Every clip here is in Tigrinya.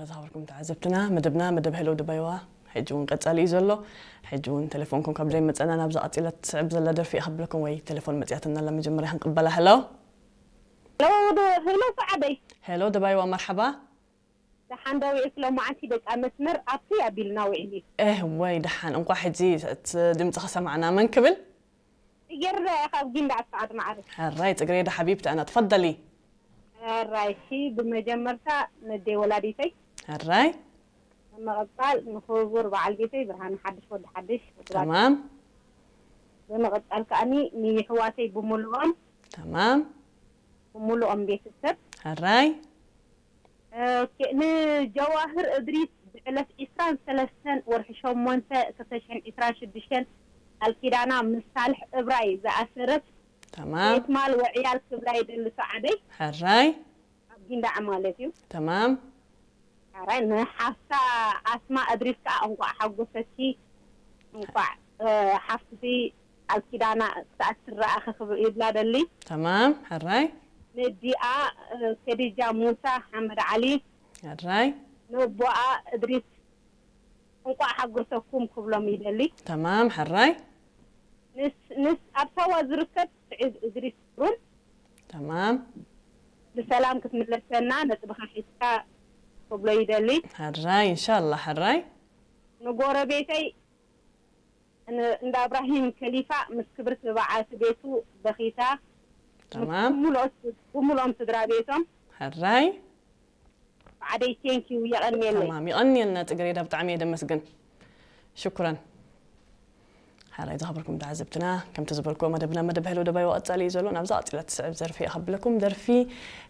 ዝኸበርኩም ተዓዘብትና፣ መደብና መደብ ሄሎ ደባይዋ ሕጂ እውን ቀጻሊ እዩ ዘሎ። ሕጂ እውን ቴሌፎንኩም ካብ ዘይመጸና ናብዛ ቀጺላ ትስዕብ ዘላ ደርፊ እየ ከብለኩም፣ ወይ ቴሌፎን መጽያትና ኣላ፣ መጀመርያ ክንቅበላ። ሄሎ። ሄሎ፣ ዶ-፣ ሄሎ፣ ሰዓደይ። ሄሎ ደባይዋ፣ መርሓባ። ደሓን ዶ ውዒልኪ? ሎማዓንቲ በቃ መስመር ኣብቲ ኣቢልና ውዒሉ። እህ፣ ወይ ደሓን፣ እንኳዕ ሕጂ እቲ ድምጺ ከሰማዕና። መን ክብል? ጽጌረዳ እያ ካብ ጊንዳዕ ሰዓድ ማዕረ። ሕራይ ጽግሬዳ ሓቢብቲ ኣና፣ ትፈደሊ። ሕራይ፣ እሺ፣ ብመጀመርታ ነደይ ወላዲተይ። ሕራይ። ብምቕጻል ንክቡር በዓል ቤተይ ብርሃነ ሓድሽ ወዲ ሓድሽ። ተማም። ብምቕጻል ከኣኒ ንየሕዋተይ ብምሉኦም። ተማም። ብምሉኦም ቤተሰብ። ሕራይ። ኦኬ፣ ንጀዋህር እድሪስ ብዕለት ዒስራን ሰለስተን ወርሒ ሸሞንተ ክልተ ሽሕን ዒስራን ሽዱሽተን ቃል ኪዳና ምስ ሳልሕ እብራይ ዝኣሰረት ተማም። ቤት ማል ወዕያል ክብላ ይደሊ ሰዓደይ። ሕራይ። ኣብ ጊንዳዕ ማለት እዩ። ተማም። ሕራይ፣ ንሓፍታ ኣስማ እድሪስ ከኣ እንቋዕ ሓጎሰኪ፣ እንቋዕ፣ እ፣ ሓፍትኺ ቃል ኪዳና ክሳዕ ትረኣኺ ክብ-፣ ይብላ ደሊ። ተማም፣ ሕራይ። ንዲኣ፣ እ፣ ከዲጃ ሙሳ ሓመድ ዓሊ። ሕራይ። ነቦኣ እድሪስ እንቋዕ ሓጎሰኩም ክብሎም ይደሊ። ተማም፣ ሕራይ። ንስ-፣ ንስ ኣብ ሳዋ ዝርከብ ስዒድ እድሪስ ሩን ተማም። ብሰላም ክትምለሰና ነጥብኻ ሒዝካ ክብሎ ይደሊ። ሕራይ፣ ኢንሻላህ፣ ሕራይ። ንጎረቤተይ ን-፣ እንዳ እብራሂም ከሊፋ ምስ ክብርቲ በዓልቲ ቤቱ በኺታ፣ ተማም። ብምሉኦም፣ ብምሉኦም ስድራ ቤቶም። ሕራይ። ብዓደይ፣ ቴንኪዩ፣ የቐንየለይ። ተማም፣ ይቐንየልና ጽግሬዳ፣ ብጣዕሚ እየ ደመስግን። ሽኩረን። ሕራይ ዝኸበርኩም ተዓዘብትና፣ ከምቲ ዝበልኩዎ መደብና መደብ ሄሎ ደባይ ወቐጻሊ እዩ ዘሎ። ናብዛ ቀጺላ ትስዕብ ዘርፊ እየ ከብለኩም። ደርፊ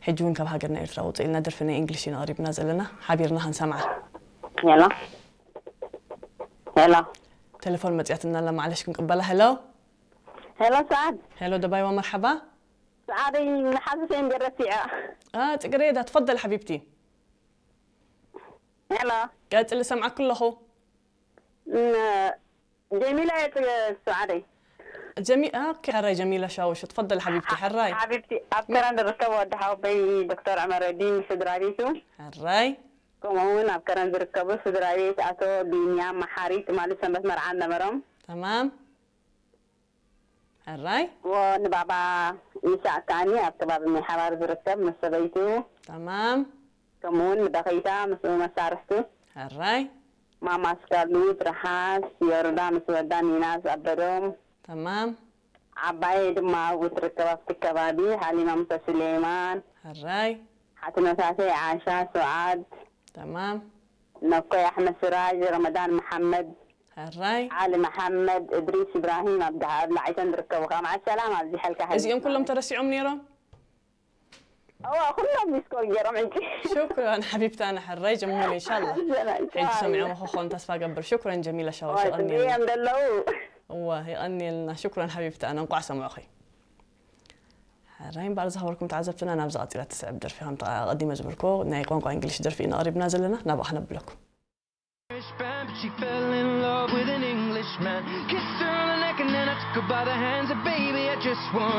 ሕጂ እውን ካብ ሃገርና ኤርትራ ውፅእ ኢልና ደርፊ ናይ እንግሊሽ ኢና ቀሪብና ዘለና። ሓቢርና ክንሰምዓ። ሄሎ። ሄሎ። ቴሌፎን መጽያትና ኣላ፣ ማዕለሽ ክንቅበላ። ሄሎ። ሄሎ ሰዓድ። ሄሎ ደባይዋ፣ መርሓባ። ሰዓደይ፣ ንሓዚ ሴንጀር ረሲዐ። አ፣ ጽግሬዳ፣ ትፈደል ሓቢብቲ። ሄሎ። ቀጽሊ፣ ሰምዓክ ኣለኹ። ን-፣ ጀሚላ እየ፣ ጽ-፣ ሰዓደይ። ጀሚ-፣ ኦኬ፣ ሕራይ ጀሚላ ሻውሽ፣ ትፈደል ሓቢብቲ፣ ሕራይ። ሓቢብቲ፣ ኣብ ከረን ዝርከብ ወዲ ሓወቦይ ዶክተር ዑመረዲን ስድራ ቤቱ። ሕራይ። ከምኡ እውን ኣብ ከረን ዝርከቡ ስድራ ቤት ኣቶ ቢንያም መሓሪ ትማሊ ሰንበት መርዓ ነበሮም። ተማም። ሕራይ። ወ-፣ ንባባ ይስሐቅ ከኣኒ ኣብ ከባቢ ሜሓባር ዝርከብ ምስ ሰበይቱ። ተማም። ከምኡ እውን ንበኸይታ ምስኡ መሳርሕቱ። ሕራይ። ማማ ኣስካሉ፣ ትርሓስ፣ ዮርዳ ምስ ወዳ፣ ኒና ዝኣበዶም። ተማም። ዓባየይ ድማ ኣብኡ ትርከብ ኣብቲ ከባቢ፣ ሓሊማ ሙሳ ሱሌማን። ሕራይ። ሓትኖታተይ ዓሻ፣ ሱዓድ። ተማም። ነኮይ ኣሕመድ ስራጅ፣ ረመዳን መሓመድ። ሕራይ። ዓሊ መሓመድ፣ እድሪስ ኢብራሂም፣ ኣብ ደሃ-፣ ኣብ ላዕይተን ዝርከቡ ከኣ መዓል ሰላም ኣብዚሐልካ እዚኦም ኩሎም ተረሲዖም ነይሮም? እዋ፣ ኩሎም ሚስኮል ገይሮም ሕጂ። ሽኩራን ሓቢብታና፣ ሕራይ ጀሚሉ፣ ኢንሻላህ። ሰላም፣ ሕጂ ሰላም። ሰሚዖም ክኾኑ ተስፋ ገብር። ሽኩራን ጀሚላ ሻወሽ፣ እዋ፣ የቐንየልና። ጽቡቕ እዮም ዘለዉ። እዋ፣ የቐንየልና። ሽኩራን ሓቢብታና፣ እንቋዕ ሰምዑኺ። ሕራይ እምበኣር ዝኸበርኩም ተዓዘብትና፣ ናብዛ ቀጺላ ትስዕብ ደርፊ፣ ከምቲ ኣቐዲመ ዝበልኩዎ፣ ናይ ቋንቋ እንግሊሽ ደርፊ ኢና ቀሪብና ዘለና፣ ናብኣ ክነብለኩም። But she fell in love with an Englishman. Kissed her on the neck and then I took her by the hands. And baby, I just want